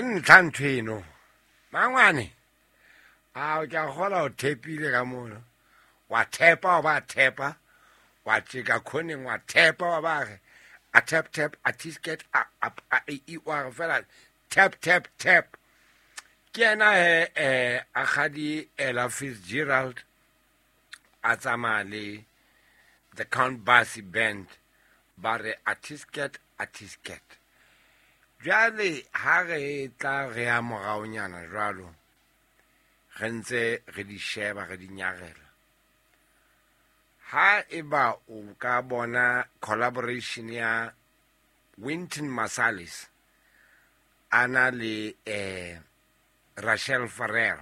Ke ntlha ntho eno. Mangwane. A ke a kgola o thepile ka mono. Wa thepa wa ba thepa. Wa tjeka khoneng wa thepa wa ba re a tap tap a tisket a a a e e wa re fela tap tap tap. Ke ena he a kgadi Ella Fitzgerald a tsamaya le the Count Basie Band ba re a tisket a tisket. Jwale ha re tla re ya moraonyana jwalo re ntse re di sheba re di nyarela. Ha eba o ka bona collaboration ya Wynton Marsalis a na le Rachel Farrell,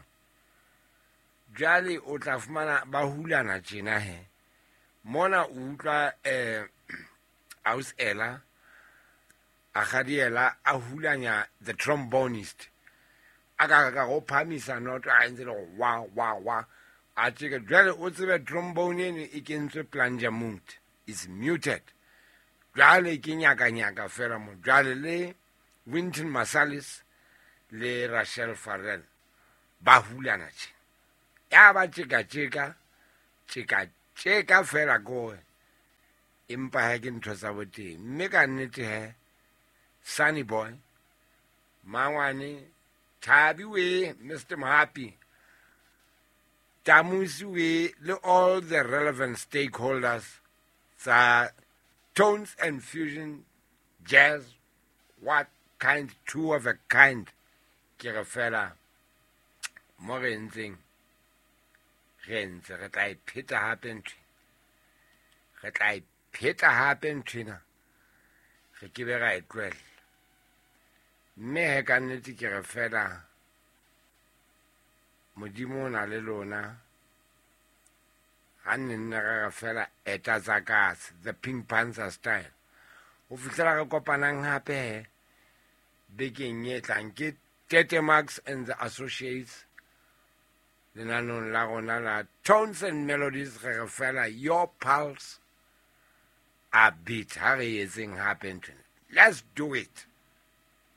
jwale o tla fumana ba hulana tjena he. Mona o utlwa Aus Ella a gadiela a hulanya the trombonist a ka ka go phamisa noto a ntse le go wa wa wa a tjeka. Jwale o tsebe trombone eno e kentswe plunger mute, is muted. Jwale ke nyaka nyaka fela mo. Jwale le Wynton Marsalis le Rachel Farrell ba hulana tje. Ya ba tjeka tjeka tjeka tjeka fela koe. Empa ha ke ntho tsa boteng. Mme ka nnete he Sunny Boy Mangwane Thabi we Mr. Mohapi Tamusi we le all the relevant stakeholders tsa Tones and Fusion Jazz, what kind, two of a kind. Ke re fela mo re ntseng re ntse re tla e pheta hape ntho, re tla e pheta hape nthwena, re ke be ra e tlohella. Mme he ka nnete ke re fela Modimo o na le lona. Ha nne nne re re fela eta tsa katse, the Pink Panther style. Ho fihlela re kopanang hape he bekeng e tlang, ke Tete Max and the Associates lenanong la rona la Tones and Melodies. Re re fela your pulse a beat. Ha re etseng hape nthwena, let's do it.